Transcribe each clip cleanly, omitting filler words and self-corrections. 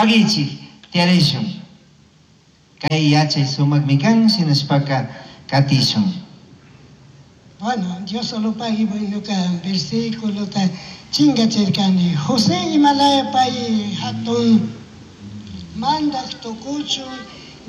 Paguichik, tiyarishun. Kay yachay sumaqmi kan, shinashpaka katishun. Bueno, Diosolopagui ñuka versículota chingachirkani. José imalaya pay hatun mandaq tukuchun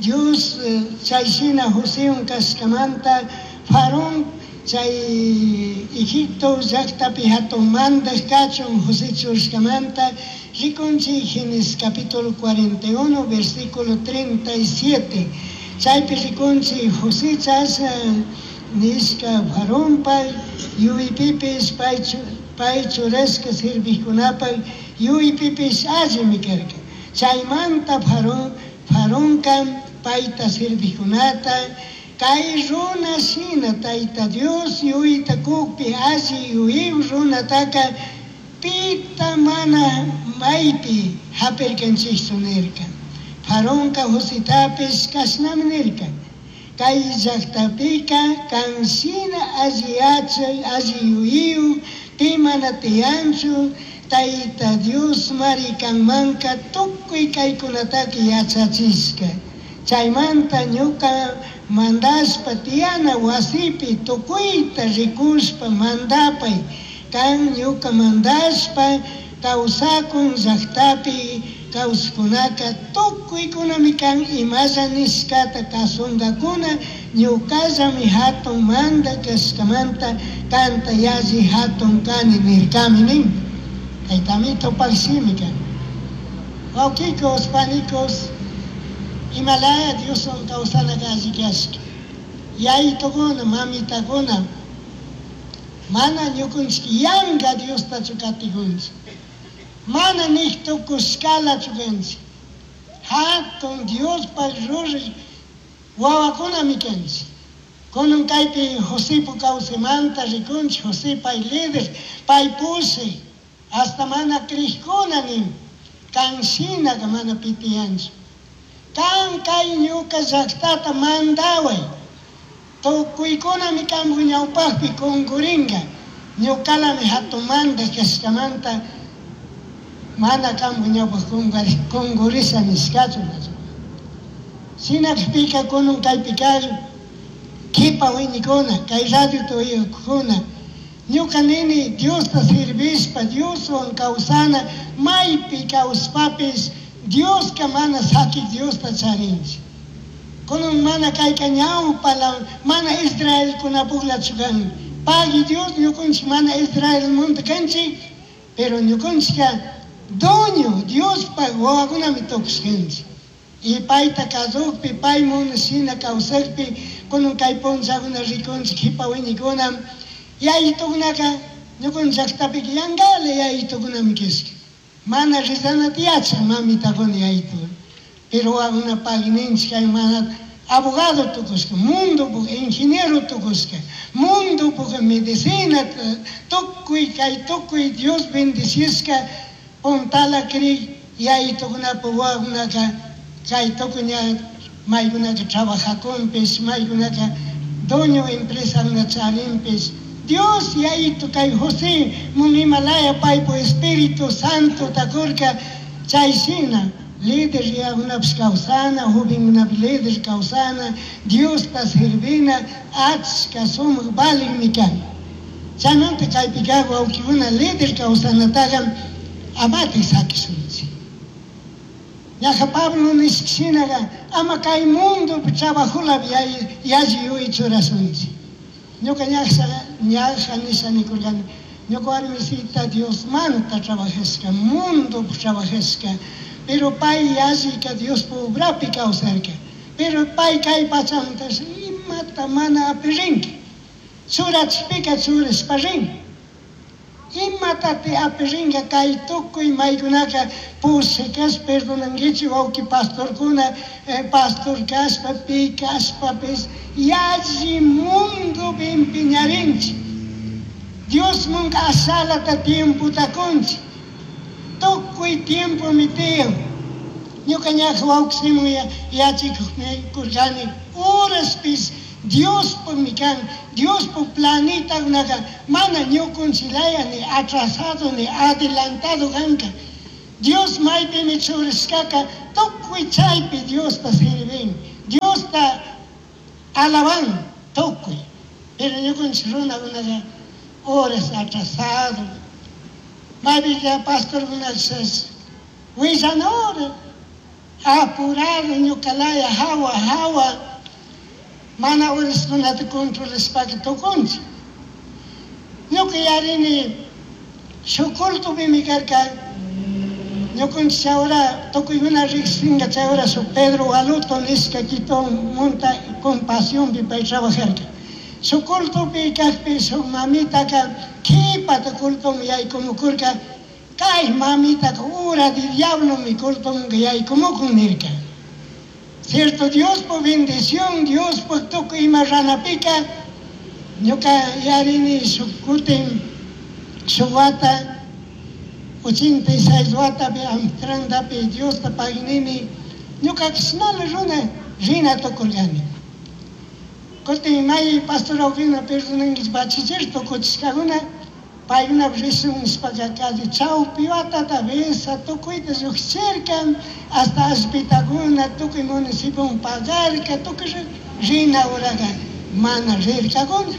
Dios chay shina Josewan kashkamanta Faraón chay Egipto llaqtapi hatun mandaq kachun José churashkamanta rikunchik Génesis capítulo 41 versículo 37. Chaypi rikunchik José chashna nishka Faraonpaq yuyaypipish pay churashka serviqkunapaq yuyaypipish allimi karka. Chaymanta Faraonka payta serviqkunata kay runa shina Tayta Dios yuyayta kukpi alli yuyaywan runataka pita mana maypi hapirkanchikchu nirka. Faraonka Josetapish kashnami nirka. Kay llaqtapika kan shina alli yachay, alli yuyaywan pi mana tiyanchu Tayta Dios mari kanmanka tukuy kaykunataka yachachishka. Chaymanta ñuka mandashpa tiyana wasipi tukuyta rikushpa mandapay kan ñuka mandashpa kawsakun llaqtapi kawsaqkunaka tukuykunami kan imalla nishkata kasunkakuna ñukallami hatun mandaq kashkamanta kanta yalli hatun kani nirkami nin. Kaytami tupaq shimi kan. Wawqikos, panikos, imalaya Dioswan kawsanaka alli kashka. Yaytukuna, mamitakuna, mana ñukunchik yanka Diostachu katikunchik. Mana nik tukushkalachu kanchik. Hatun Diospaq ruraq wawakunami kanchik. Kunan kaypi Josepo kawsaymanta rikunchik, José pay líder, pay pushaq, hasta mana kriqkuna nin, kan shinaka mana pitiyanchu. Kan kay ñuka llaqtata mandaway. Tukuykunami kanpuk ñawpaqpi kunkurinka. Ñukalami hatun mandaq kashkamanta mana kanpuk ñawpaq kunkurisha nishkachu. Shinakpika kunan kaypi kar kipa wiñikuna, kay radiota uyakuna, ñuka nini Diosta servishpa, Dioswan kawsana, maypi kawspapish Dioska mana sakik Diosta charinchik. Kunan mana kayka ñawpala, mana Israelkunapuklachu kan. Pagui Dios ñukunchik mana Israelmanta kanchik, pero ñukunchikka dueño Diospaq wawakunami tukushkanchik. Y payta kasukpi, pay munashina kawsakpi, kunan kay punllakuna rikunchik kipa wiñikuna, yayitukunaka ñukunchik llaqtapika yankala yayitukunami kashka. Mana rezanata yachak mamitakuna yayitukuna. Pero wawakuna pagui kay mana abogado tukushka, mundopuk ingeniero tukushka, mundopuk medicina tukuy kay tukuy Dios bendecishka puntala krik yayitukunapa wawakunaka kay tukuy ña maykunaka trabajakunpish, maykunaka dueño empresakuna charinpish. Dios yayitu kay José mun imalaya paypu Espíritu Santo takurka chay shina líder yakunapish kawsana, jovenkunapish líder kawsana, Diosta servina achka sumak valikmi kan. Chaymanta kaypi kaq wawqikuna líder kawsanataqa amatik sakishunchik. Ñaja Pablo nishka shinaka ama kay mundopi trabajolapi yalli yuyay churashunchik. Ñuka ñaja nisha nikurkani, ñuka warmisita Diosmanta trabajashka, mundopi trabajashka, pero pay yallika Diospa obrapi kawsarka. Pero pay kay pachamanta imata mana apirinki. Churachpika churashpa rin. Imatati apirinka kay tukuy maykunaka pushak perdonankichik wawqi pastorkuna, pastor kashpa, pi kashpapis yalli mundopi empeñarinchik. Diosmanka ashalata tiempota kunchik. Tukuy tiempomi tiyan. Ñuka ñaja wawqi Simon yachikuqmi kurkani horaspis Diospaqmi kan, Diospaq planetakunaka mana ñukunchilaya ni atrasado ni adelantado kanka. Dios maypimi churashkaka tukuy chaypi Diosta sirvin, Diosta alaban tukuy. Pero ñukanchik runakunaqa horas atrasado. Maypika pastorkunash willana hora apurado ñukalaya hawa hawa mana horaskunata controlashpaka tukunchik. Ñuka yarini shuk cultopimi karka ñukanchik chay hora tukuykuna riqsinka chay hora shuk Pedro Gualuto nishka Quito munta Compasiónpi pay trabajarka. Shuk cultopi kaqpi shuk mamitaka qhipata cultoman yaykumukurka kay mamitaka hora de diablomi cultomanka yaykumukun nirka. Cierto, Diospuk bendición, Diospuk tukuy ima ranapika ñuka yarini shuk kutin shuk wata 86 watapi Amsterdampi Diosta paginini ñuka kishnala runa rina tukurkani. Kutin may pastor wawqina perdonankichik bachiller tukuchishkakuna paykunapish rishun nishpaka calle chawpi watata visa tukuyta llukshirka hasta allpitakuna tukuy municipioman pagarka tukuy rina horaga mana rirkakuna.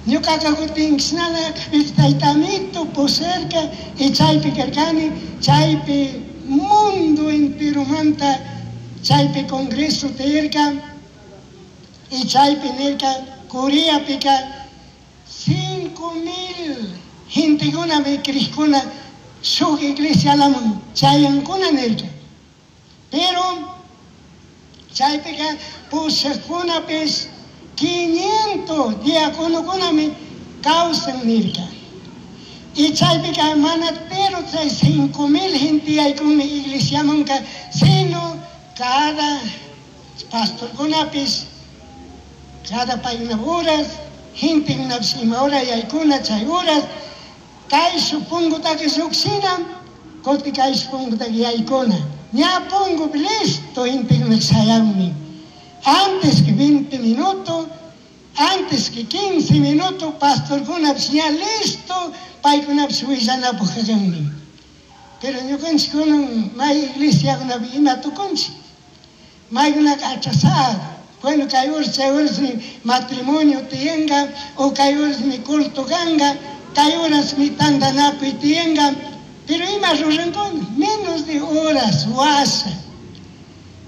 Ñukaka kutin kishnala taytamito pusharka y chaypi karkani chaypi mundo enteromanta chaypi congreso tiyarka y chaypi nirka Coreapika 5000 gentekunami crishkuna shuk iglesialaman chayankuna nirka. Pero chaypika pushakkunapish 500 diaconokunami kawsan nirka. Y chaypika mana pero chay 5000 gente yaykunmi iglesiamanka, sino cada pastorkunapish cada paykuna horas gentekunapish ima hora yaykuna chay horas kayshuk punkutaka llukshina kutin kayshuk punkutaka yaykuna. Ña punkupi listo gentekuna shayanmi. Antes que 20 minutos, antes que 15 minutos, pastorkunapish ña listo paykunapish willanapuk kakanmi. Pero ñukanchik kunan may iglesiakunapi ima tukunchik. Maykunaka atrasado. Bueno, kay horas chay horasmi matrimonio tiyanka o kay horasmi culto kanka, kay horasmi tantanakuy tiyanka, pero ima rurankuna menos de horas washa.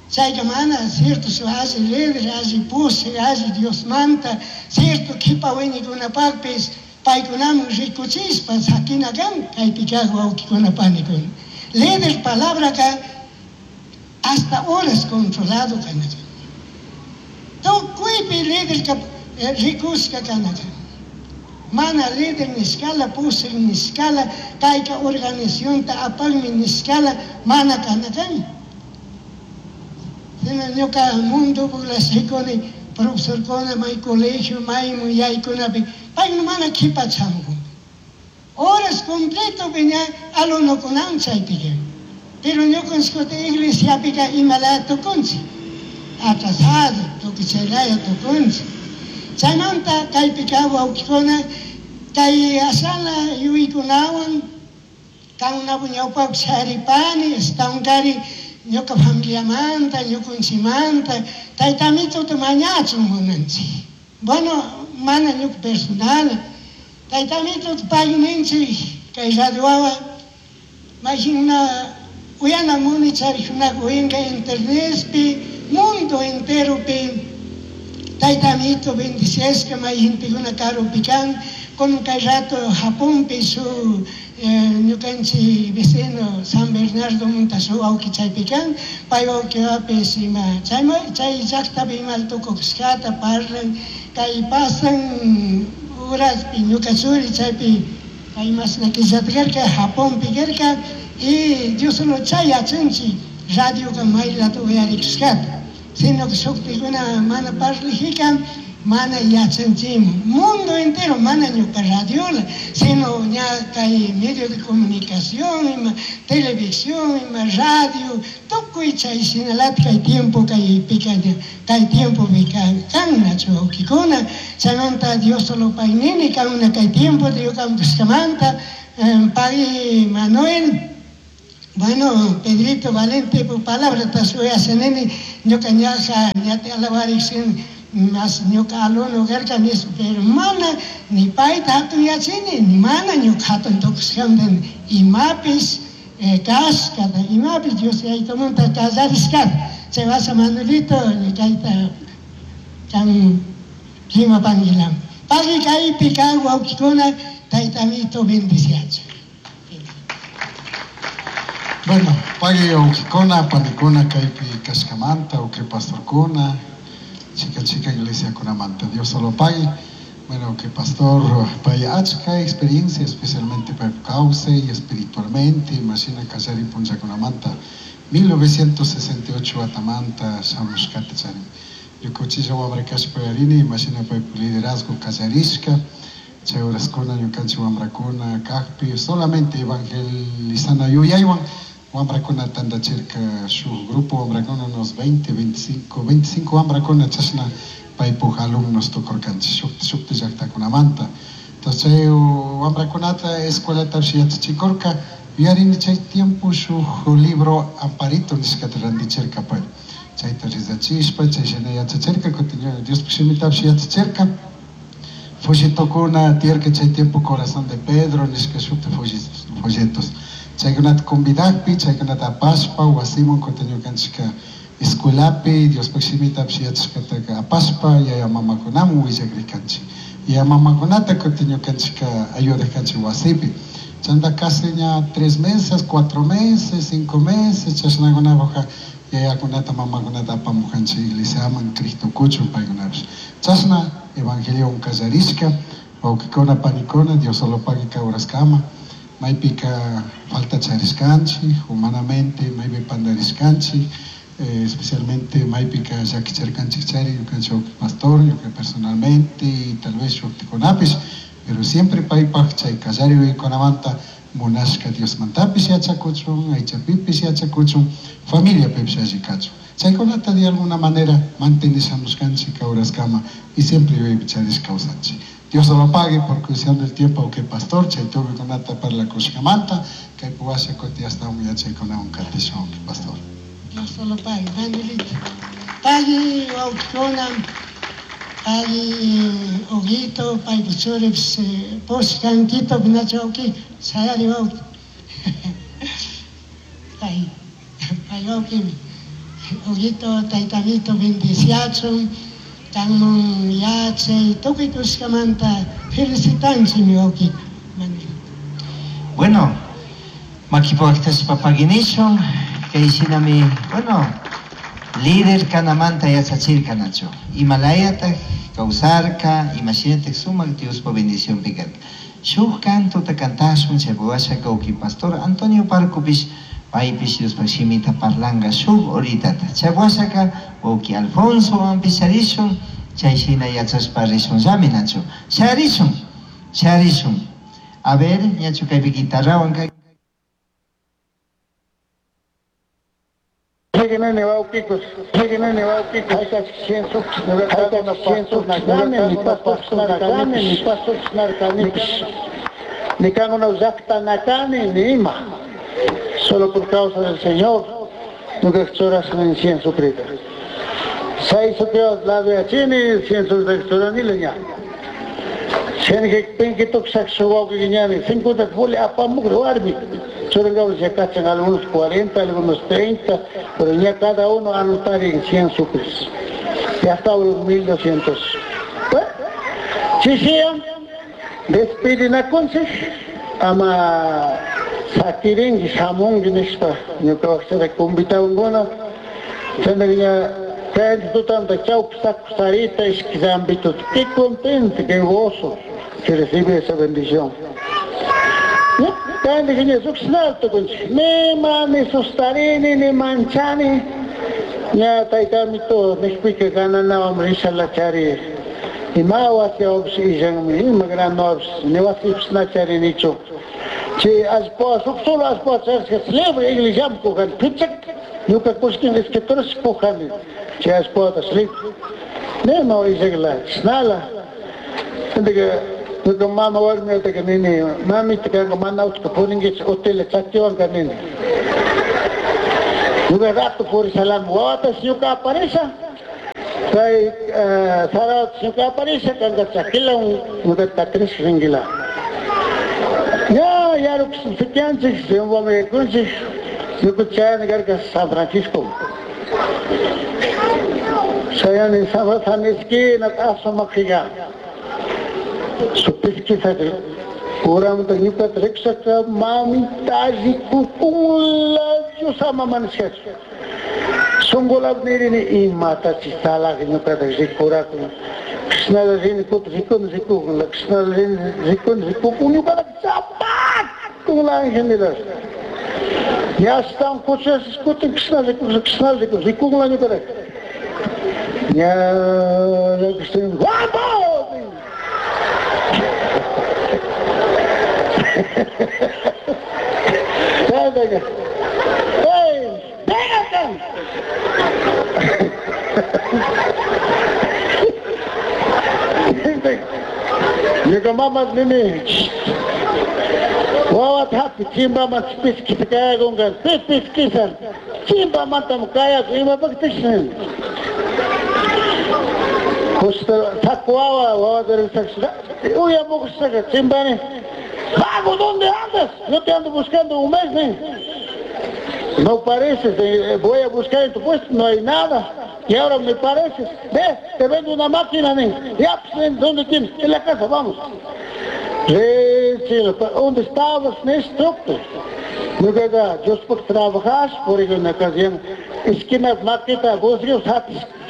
Chayka mana cierto su alli líder, alli pushak, alli Diosmanta, cierto kipa wiñaykunapakpis paykunaman rikuchishpa sakina kan kaypi kaq wawqikuna panikuna. Líder palabraka hasta horas controlado kanaka. Tukuypi líderka rikushka kanaka. Mana líder nishkala, pushak nishkala, kayka organizacionta apakmi nishkala, mana kanakan. Sino ñuka mundo rikuni profesorkuna may colegio, maymun yaykunapi, paykuna mana qhipachankun. Horas completo ña alumnokunawan chaypika. Pero ñukanchik iglesiapika imalaya tukunchik. Atrasado, tukuy chaylaya tukunchik. Chaymanta kaypika wawqikuna kay ashala yuyaykunawan kankunapak ñawpapi sharipani, ashtawankari ñuka familiamanta, ñukanchikmanta, taytamituta mañachun munanchik. Bueno, mana ñuka personal, taytamituta pagui kay radio wawa mayjina uyana muni charikkunaka uyanka internetpi, mundo enteropi taytamito bendiciashka may gentekuna karupi kan, kunan kay rato Japonpi shuk ñukanchik vecino San Bernardo munta shuk wawqi chaypi kan, pay wawqiwapish ima chay llaktapi ima tukushkata parlan, kay pasan horaspi ñuka churi chaypi kay mashna killata karka Japonpi karka y Dios solo chay yachanchik radioka maylata uyarikushkata, sino que shuktikuna mana parlajika mana yachanchikman. Mundo entero mana ñuka radiola, sino ña kay medio de comunicación, ima televisión, ima radio, tukuy chay shinalata kay tiempo kaypika kay tiempopi kan nachu wawqikuna. Chaymanta Dios solo paynini kankuna kay tiempo ñuka kushkamanta pagui Manuel. Bueno, Pedrito Valente, por palabra tasuyashanini, ñuka ñaja, ñate alabarixin, mas ñuka alumno garka nis, pero mana, ni payta hatun yachini, ni mana ñuka hatun tukushkantin, imapis kashkata, imapis Dios yaytumanta kallarishkata. Chay wasa Manuelito, kayta kan rimapankilam. Pagui kaypi kan wawkikuna, taytamito bendiciachu. Bueno, pagui wawkikuna, panikuna kaypi kashkamanta, uki pastorkuna, chica chica iglesia kunamanta. Dios solo pagui. Bueno, que pastor pay achka experiencia, especialmente pay causa y espiritualmente, imagina kallari punllakunamanta, 1968 atamanta shamushkata charin. Ñukanchilla wamra kashpa yarini, imagina pay liderazgo kallarishka, chay horaskuna ñukanchik wamrakuna kajpi, solamente evangelizana yuyaywan wamrakuna tandachirka shuk grupo wamrakuna unos 20, 25, 25 wamrakuna chashna paypuk alumnos tukurkanchik shukti shukti llaktakunamanta. Entonces chay wamrakunata escuelatapish yachachikurka, yuyarini chay tiempo shuk libro Amparito nishkata randichirka pay. Chayta rizachishpa, chay shina yachachirka, kutin Diospuk shimitapish yachachirka. Folletokuna tiyarka chay tiempo Corazón de Pedro nishka shukti folletos. Chaykunata convidakpi, chaykunata apashpa, wasiman kutin ñukanchikka escuelapi, Diospuk shimitapish yachashkataka apashpa, yaya mamakunaman willakrikanchik. Yaya mamakunata kutin ñukanchikka ayudakanchik wasipi. Chanta casi ña 3 meses, 4 meses, 5 meses, chashnakunapuka yayakunata mamakunata apamukanchik iglesiaman, Cristo kuchun paykunapish. Chashna evangelio kallarishka, wawkikuna, panikuna, Dios solo pagui kawraskama, maypika falta charishkanchik, humanamente maypi pandarishkanchik, especialmente maypika llakicharkanchik chari, ñukanchik wawki pastor, ñuka personalmente y tal vez shuktikunapish, pero siempre paypaj chay kallari uykunamanta munashka Diosmantapish yachakuchun, aychapipish yachakuchun, familiapipish alli kachun. Chaykunata de alguna manera mantenishamushkanchik kawraskama y siempre yuyaypi charish kawsanchik. Dios lo pague por cuestión del tiempo que pastor chay tuvikunata parlakushkamanta, kaypi washa kuti astawan yachaykunawan katishun, pastor. Dios lo pague, Manuelito. Pagui wawkikuna, pagui Huguito, paypa churipish, pushkankito nachu wawki, sayari wawki. Pay, pay wawkimi. Huguito, taytamito bendiciachun, kanman yachay, tukuy kushkamanta felicitanchikmi wawki. Manuelito. Bueno, makipuaktashpa paginishun, kay shinami, bueno, líder kanamanta yachachirka nachu. Imalayataj kawsarka, imashinataj sumak Diospa bendición pikarka. Shuk cantuta kantashun, chay washaka uki pastor Antonio Parcopish, paypish Diospa shimita parlanga shuk horitata. Chay washaka uki Alfonso ampicharishun, chay shina yachashpa rishun llami nachu. Sharishun, sharishun. A ver, ñachu kaypi guitarrawan kay. Nene wawkikus, nene wawkikus, ni kanuna llaqtanakani ni ima, solo por causa del Señor, nunca churas en incienso prita. Seis sucreos lado de achini, incienso de churanile ña. Cien que pinki tuxak suwawki ñani, 50 fuli apamuk warmi. Churangamos ya cachan algunos 40, algunos 30, pero ya cada uno anotar en 100 sucres. Ya está unos 1200. Bueno, si sean, despiden a consej, ama sakirin, samón, nishpa, ñuka convitado tendría que tanto chau, sarita, isquizambito, qué contento, qué gozo que recibe esa bendición. Ni ni sustarini, ni manchani, ña taytamito nishpika gananawan rishalachari, ima wasiwapish illanmi, ima granowapish, ni wasipish na charinichu. Chay allpa, suk solo allpa charishka libre iglesiaman kujani, pichak, ñuka kushkin escrituras kujani, chay allpata libre. Nima illakla, chishnala. Entonces, Ñuka mama warmiyataka nini, mamita kanka mana utka purinkichu utila chakiwanka nini. Ñuka rato purisalam, wawatas ñuka aparisha. Chay sarawatas ñuka aparisha, kanka chakilawan ñuka takrish rinquila. Ya, yarukushanchik, Riobamba yaykunchik, ñuka chayani karka San Francisco. Chayani San San esquina asumaqiga. Su pesquisa uramanta ñukata rikusaka mamita rikukunla Dios ama manishkachu. Shunqulap nirini imatachi salaq ñukata rikurakun. Krishnala rini kutin rikuni rikukun, Krishnala rini rikuni rikukun ñukata chapakun angelila. Ya ashtawan kuchas kutin Krishna rikun Krishna rikun rikunla ñukata. Ya Krishna ¡Guapo! ¡Ey! ¡Ven acá! Ñuka mama nini wawata hapi chimbaman piskita kayakunka pi piskisa chimbamantam kayakun imapaqtish Justo saco wawa wawata uyamukushaka chimbani. Vago, ¿dónde andas? Yo te ando buscando un mes, ¿eh? No pareces, voy a buscar en tu puesto, no hay nada. Y ahora me pareces. Ve, te vendo una máquina, ¿eh? Ya, pues, ¿dónde tienes? En la casa, vamos. Sí, ¿dónde estabas, Néstor? Ñukaqa Diospaq trabajas, por una ocasión, esquina maquita, vos Dios,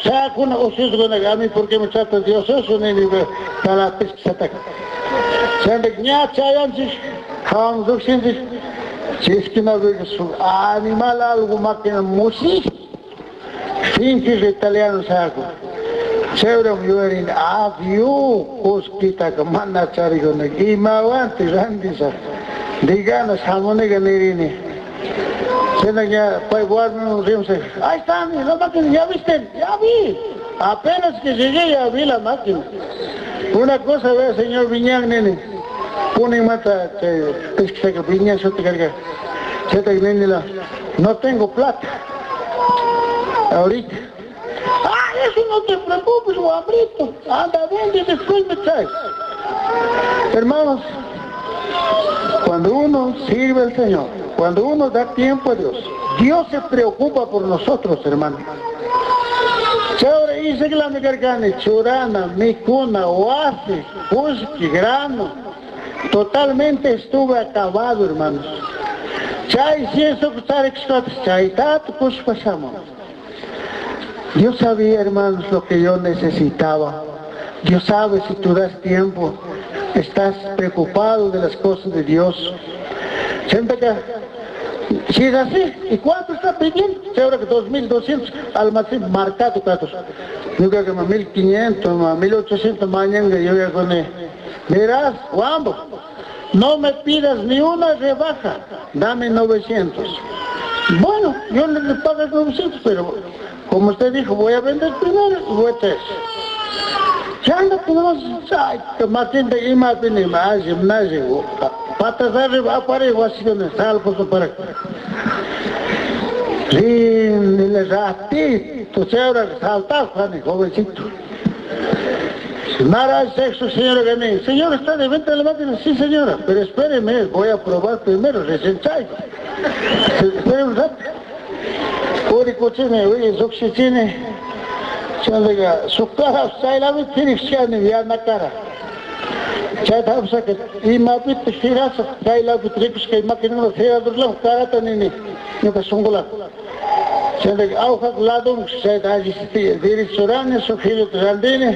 sakuna ususkunaqa, a mí porque me trata Dios eso, ni para pesquisataka. Chaymantaqa ña chayanchik, hawan lluqshinchik, chay esquinapiqa suk animal algo máquina musij, sinchi italiano shakun. Chayram yuyarini, adiós, kullkitaka mana charikunika, imawantik rantisaq. Digana shamuniga nirini. Chayna ña pay warmiwan rimasha, ahí está la máquina, ya viste, ya vi. Apenas que llegué ya vi la máquina. Una cosa ve señor Viñán nini. Punin mata chay pesquisaka Viñán shuti karka. Chayta nini la, no tengo plata. Ahorita. Ah, eso no te preocupes, guambrito. Anda, vende y después me traes. Hermanos, cuando uno sirve al Señor, cuando uno da tiempo a Dios, Dios se preocupa por nosotros, hermano. Chayra islami karkani, churana, mikuna, wasi, kullki, grano. Totalmente estuve acabado, hermanos. Chay ciencia chaytata kushpa shamun. Dios sabía, hermanos, lo que yo necesitaba. Dios sabe si tú das tiempo, estás preocupado de las cosas de Dios. Siempre que, si es así, ¿y cuánto está pidiendo? Seguro que 2.200 almacén marcado, cuántos. Yo creo que más 1.500, más 1.800 mañana yo voy a poner. Verás, Juanbo, no me pidas ni una rebaja, dame 900. Bueno, yo le pago 900, pero como usted dijo, voy a vender primero y voy a traer. Ya anda, pues, ay, matinta ima pini, mazi, mnazi, patas arriba, apare, guasigone, sal, pues, para. Rin, ratito, se saltaba, Juan, jovencito. Nada, sexo, señora Gané. Señora, ¿está de venta la máquina? Sí, señora, pero espéreme, voy a probar primero, recién traigo. Espéreme un rato. Uri kuchini, uri llukshichini. Chayqa suk cara chaylapi tirishkani yana cara. Chayta hapishaka imapitaq tirasaq chaylapi rikushkay maquinata tiradurlawan carata nini ñuka shunqulapi. Chayqa awqaq ladunqa chayta alli derechurani suk jiruta randini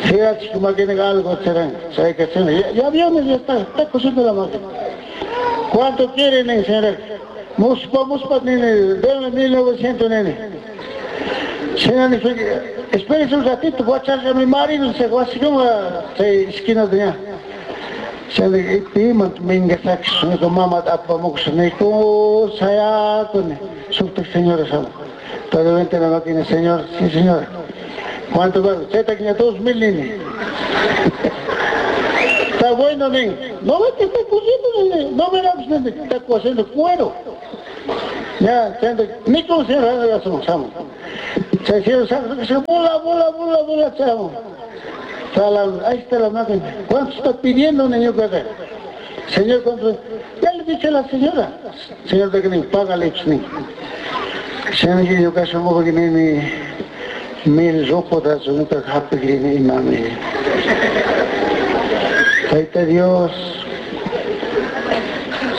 tirachik maquinaqa algo tiran. Chayqa chayna ya viene, ya está cosiendo la máquina. ¿Cuánto quiere nin señora? Muspa muspa nini, deme 1900 nini. Señora, espérese un ratito, voy a echarle a mi marido, se va así como a esquina de allá. Señora, y minga sax, no mamá apamuks, ni ku sayakuni, sukta señora sama. Todavía la máquina, señor, sí señora. ¿Cuánto va? Cheta que 2000 nini. Está bueno, nin. No ve que está cosiendo, no verás, está cosiendo cuero. Ya, ni con se ya somos, Se se bola, bola, bola, bola, chamo. Ahí está la máquina. ¿Cuánto está pidiendo, niño? Señor, ¿cuánto? Ya le dije a la señora. Señor, de que ni págale, ni. Señor, yo caso que ni mil ropa nunca happy ni mami. Ahí Dios.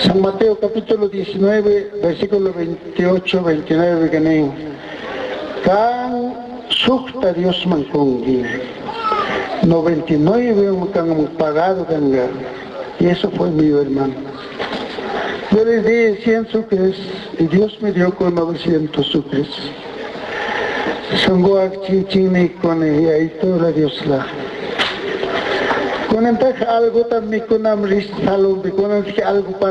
San Mateo capítulo 19, versículo 28, 29, que ni. Kan sukta Dios mankungi. 99 han pagado ganga. Y eso fue mío, hermano. Yo les di 100 sucres y Dios me dio con 900 sucres. Songo chin con y ahí toda la Dios la. Con algo también con algo para.